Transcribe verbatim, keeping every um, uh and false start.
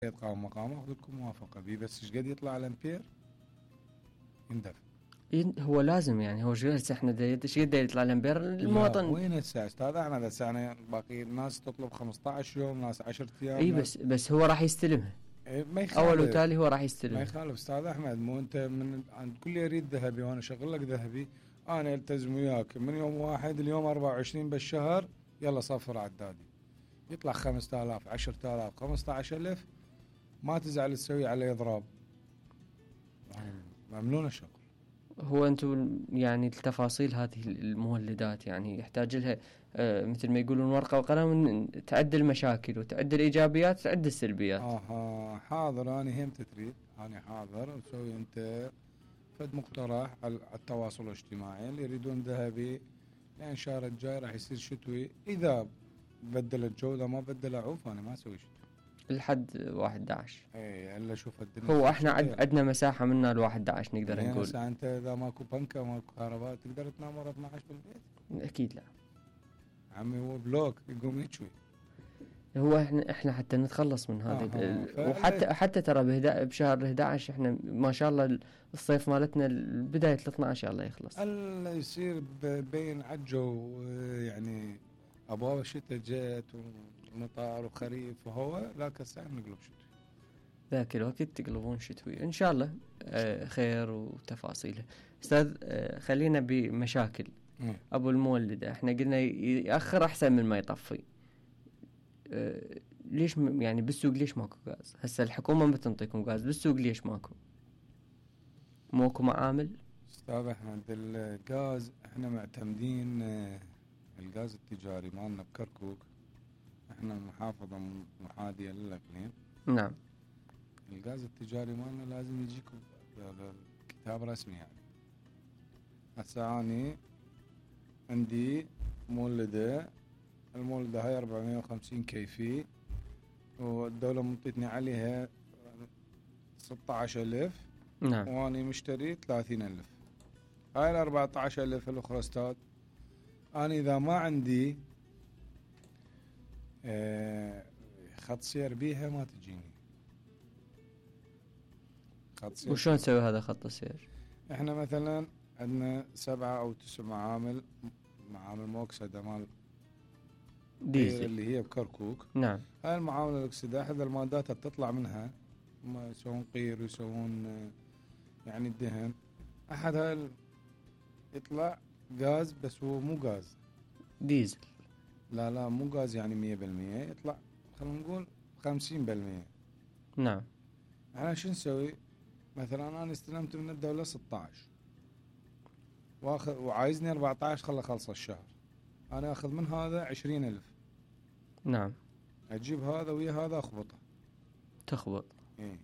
قام مقامه اخذ لكم موافقه بيه، بس ايش قد يطلع الامبير يندفع. هو لازم يعني هو شو هسه احنا ايش قد يطلع الامبير المواطن. وين هسه استاذ احمد؟ هسه انا باقي الناس تطلب خمسة عشر يوم، ناس عشرة ايام. اي بس بس هو راح يستلمها. إيه ما يخالف، اول وتالي هو راح ما يستلمها. يخالف استاذ احمد. مو انت من عند كل يريد ذهبي وانا اشغل لك ذهبي، انا التزم وياك من يوم واحد اليوم أربعة وعشرين بالشهر، يلا صفر عدادي يطلع خمسة آلاف عشرة آلاف خمسة عشر ألف، ما تزعل تسوي عليه اضراب، يعني ممنون شغل. هو انتم يعني التفاصيل هذه المولدات يعني يحتاج لها آه مثل ما يقولون ورقة وقلم، تعد المشاكل وتعد الايجابيات وتعد السلبيات. اها حاضر، انا هم تتريد انا حاضر نسوي انت فد مقترح على التواصل الاجتماعي اللي يريدون ذهبي، لان الشهر الجاي راح يصير شتوي، اذا بدلت جودة ما بدل عوف انا ما اسوي شتوي لحد واحد عشر. اي الا شوف الدنيا. هو احنا عد عندنا مساحة منها لواحد عشر نقدر يعني نقول. هسه انت اذا ماكو بنكة ماكو كهرباء تقدر تنام ورا اثنا عشر بالبيت؟ اكيد لا عمي هو بلوك يقوم يشوي. هو احنا احنا حتى نتخلص من هذا آه وحتى حتى ترى بهدا بشهر احد عشر احنا ما شاء الله الصيف مالتنا بداية اثنا عشر الله يخلص. الا يصير بين عجو يعني ابواب الشتاء جت ومطار وخريف وهو ذاك الساعة نقلب شتوي. ذاك الوقت تقلبون شتوي ان شاء الله. آه خير وتفاصيله. استاذ آه خلينا بمشاكل م. ابو المولدة. احنا قلنا يأخر احسن من ما يطفي. أه ليش م... يعني بالسوق ليش ماكو غاز؟ هسه الحكومة ما بتنطيكم غاز، بالسوق ليش ماكو؟ موكو معامل؟ استاذ احمد الغاز احنا معتمدين الغاز التجاري مالنا بكركوك، احنا محافظة محاذية للاقليم. نعم. الغاز التجاري مالنا لازم يجيكم كتاب رسمي يعني. هسه اني عندي مولدة، المولدة هاي أربعمية وخمسين كيفي والدولة منطيتني عليها ستة عشر ألف. نعم. واني مشتري ثلاثين ألف. هاي الأربعة عشر ألف الأخرى استاذ أنا إذا ما عندي اه خط سير بيها ما تجيني خط سير. وشون نسوي هذا خط السير؟ احنا مثلا عندنا سبعة أو تسع معامل، معامل موكسدة مال ديزل اللي هي بكركوك. نعم. هاي المعامل الأكسدة أحد المادات تطلع منها هم يسوون قير ويسوون يعني الدهن، أحد هاي يطلع غاز بس هو مو غاز ديزل. لا لا مو غاز يعني مية بالمية، يطلع خلينا نقول خمسين بالمية. نعم. احنا شو نسوي؟ مثلا أنا استلمت من الدولة ستة عشر واخذ وعايزني أربعة عشر خله خلص الشهر، أنا أخذ من هذا عشرين ألف. نعم. أجيب هذا ويا هذا أخبطه. تخبط. إيه